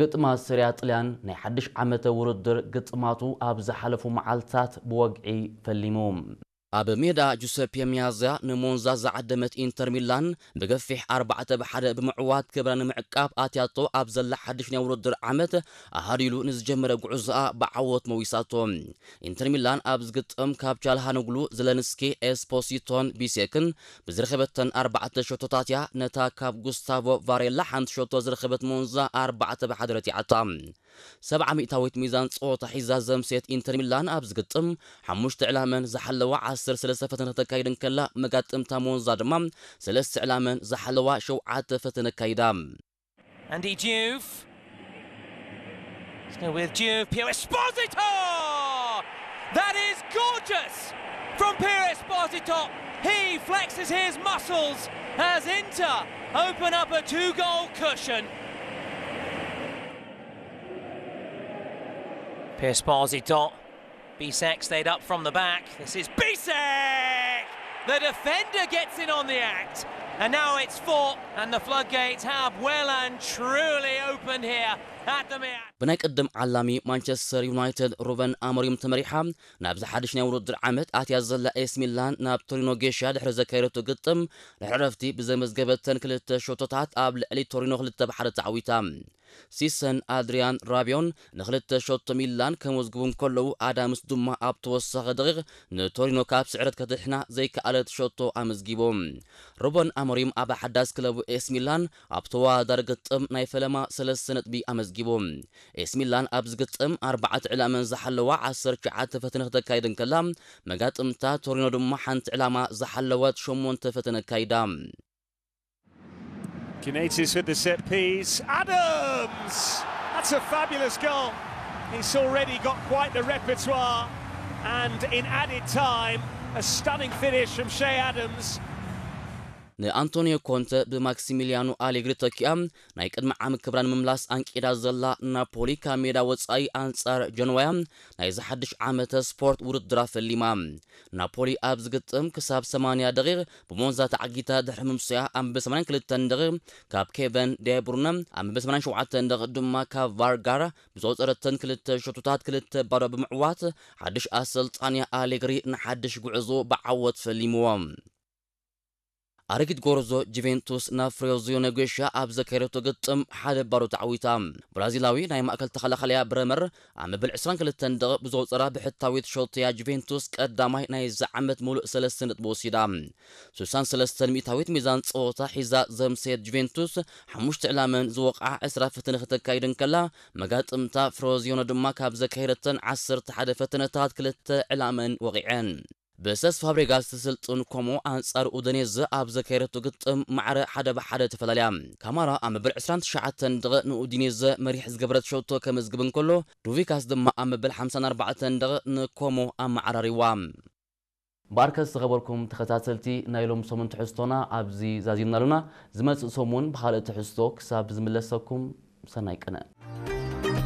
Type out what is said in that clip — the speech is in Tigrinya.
ግጥማት ሰሪያ ጥልያን ናይ ሓድሽ ዓመተ ውድድር ግጥማቱ ኣብ ዝሓለፉ መዓልታት ብወግዒ ፈሊሙ። ኣብ ሜዳ ጁሰፔ ሚያዚያ ንሞንዛ ዝዓደመት ኢንተር ሚላን ብገፊሕ ኣርባዕተ ብ ሓደ ብምዕዋት ክብራ ንምዕቃብ ኣትያቶ ኣብ ዘላ ሓድሽ ናይ ውድድር ዓመት ኣሃዲሉ ንዝጀመረ ጉዕዞኣ ብዓወት መዊሳቶ። ኢንተር ሚላን ኣብ ዝግጥም ካብ ቻልሃኖግሉ፣ ዘለንስኪ፣ ኤስፖሲቶን ቢሴክን ብዝረኸበተን ኣርባዕተ ሸቶታት እያ ነታ ካብ ጉስታቮ ቫሬላ ሓንቲ ሸቶ ዝረኸበት ሞንዛ ኣርባዕተ ብ ሓደ ረቲዓታ። ሰብዓ ሚእታዊት ሚዛን ጸወታ ሒዛ ዘምሴት ኢንተር ሚላን ኣብ ዝግጥም ሓሙሽተ ዕላመን ዝሓለዋ ዓሰርተ ሰለስተ ፈተነ ከተካይድ እንከላ፣ መጋጥምታ ሞንዛ ድማ ሰለስተ ዕላመን ዝሓለዋ ሸውዓተ ፈተነ ኣካይዳ። Andy Diouf. Let's go with Diouf. Piero Esposito! That is gorgeous from Piero Esposito. He flexes his muscles as Inter open up a two goal cushion. Piero Esposito. Bisek stayed up from the back. This is Bisek! The defender gets in on the act. And now it's four, and the floodgates have well and truly opened here at the Meazza. ብናይ ቅድም ዓላሚ ማንቸስተር ዩናይትድ ሩበን ኣሞሪም ተመሪሓ ናብዚ ሓድሽ ናይ ውድድር ዓመት ኣትያ ዘላ ኤስ ሚላን ናብ ቶሪኖ ጌሻ ድሕሪ ዘካየደቶ ግጥም ድሕሪ ዕረፍቲ ብዘመዝገበተን ክልተ ሸቶታት ኣብ ልዕሊ ቶሪኖ ክልተ ብ ሓደ ተዓዊታ። ሲሰን ኣድሪያን ራቢዮን ንክልተ ሸቶ ሚላን ከመዝግቡ እንከለዉ፣ ኣዳምስ ድማ ኣብ ተወሳኺ ደቂቕ ንቶሪኖ ካብ ስዕረት ከድሕና ዘይከኣለት ሸቶ ኣመዝጊቡ። ሩበን ኣሞሪም ኣብ ሓዳስ ክለቡ ኤስ ሚላን ኣብ ተወዳዳሪ ግጥም ናይ ፈለማ ሰለስተ ነጥቢ ኣመዝጊቡ። ኤስ ሚላን ኣብዚ ግጥም ኣርባዕተ ዕላመን ዝሓለዋ ዓሰርተ ትሽዓተ ፈተነ ክተካይድ እንከላ፣ መጋጥምታ ቶሪኖ ድማ ሓንቲ ዕላማ ዝሓለወት ሸሞንተ ፈተነ ኣካይዳ። Cunetis with the set piece. Adams! That's a fabulous goal. He's already got quite the repertoire. And in added time, a stunning finish from Che Adams. ንኣንቶኒዮ ኮንተ ብማክሲሚሊያኖ ኣሌግሪ ተኪኣ ናይ ቅድሚ ዓሚ ክብራ ንምምላስ ኣንቂዳ ዘላ ናፖሊ ካብ ሜዳ ወጻኢ ኣንጻር ጀንዋያ ናይዚ ሓድሽ ዓመተ ስፖርት ውድድራ ፈሊማ። ናፖሊ ኣብ ዝግጥም ክሳብ ሰማንያ ደቂቕ ብሞንዛ ተዓጊታ ድሕሪ ምምስያ ኣብ መበል ሰማንያን ክልተን ደቂቕ ካብ ኬቨን ዴብሩነ፣ ኣብ መበል ሰማንያን ሸውዓተን ደቂቕ ድማ ካብ ቫርጋራ ብዝቆጸረተን ክልተ ሸቶታት ክልተ ባዶ ብምዕዋት ሓድሽ ኣሰልጣኒ ኣሌግሪ ንሓድሽ ጉዕዞ ብዓወት ፈሊምዎ። ኣረጊት ጎርዞ ጁቬንቱስ ናብ ፍሬዚዮ ነጌሻ ኣብ ዘካየደቶ ግጥም ሓደ ባዶ ተዓዊታ። ብራዚላዊ ናይ ማእከል ተኸላኻሊያ ብረመር ኣብ መበል ዕስራን ክልተን ደቂቕ ብዘውጸራ ብሕታዊት ሸቶያ ጁቬንቱስ ቀዳማይ ናይዚ ዓመት ሙሉእ ሰለስተ ነጥቢ ወሲዳ። ስሳን ሰለስተን ሚእታዊት ሚዛን ጸወታ ሒዛ ዘምሰየት ጁቬንቱስ ሓሙሽተ ዕላመን ዝወቕዓ ዕስራ ፈተነ ክተካይድ እንከላ፣ መጋጥምታ ፍሮዚዮኖ ድማ ካብ ዘካየደተን ዓሰርተ ሓደ ፈተነታት ክልተ ዕላመን ወቒዐን። ብሰስ ፋብሬጋስ ትስልጥን ኮሞ ኣንጻር ኡደኔዘ ኣብ ዘካየደቶ ግጥም ማዕረ ሓደ ብሓደ ተፈላለያ። ካማራ ኣብ መበል ዕስራን ትሽዓተን ደቂቕ ንኡዲኔዘ መሪሕ ዝገበረት ሸቶ ከመዝግብ እንከሎ፣ ዱቪካስ ድማ ኣብ መበል ሓምሳን ኣርባዕተን ደቂቕ ንኮሞ ኣመዓራሪዋ። እምበኣርከስ ዝኸበርኩም ተኸታተልቲ ናይ ሎም ሰሙን ትሕዝቶና ኣብዚ ዛዚምና ኣሉና። ዝመጽእ ሰሙን ብኻልእ ትሕዝቶ ክሳብ ዝምለሰኩም ሰናይ ቅነ።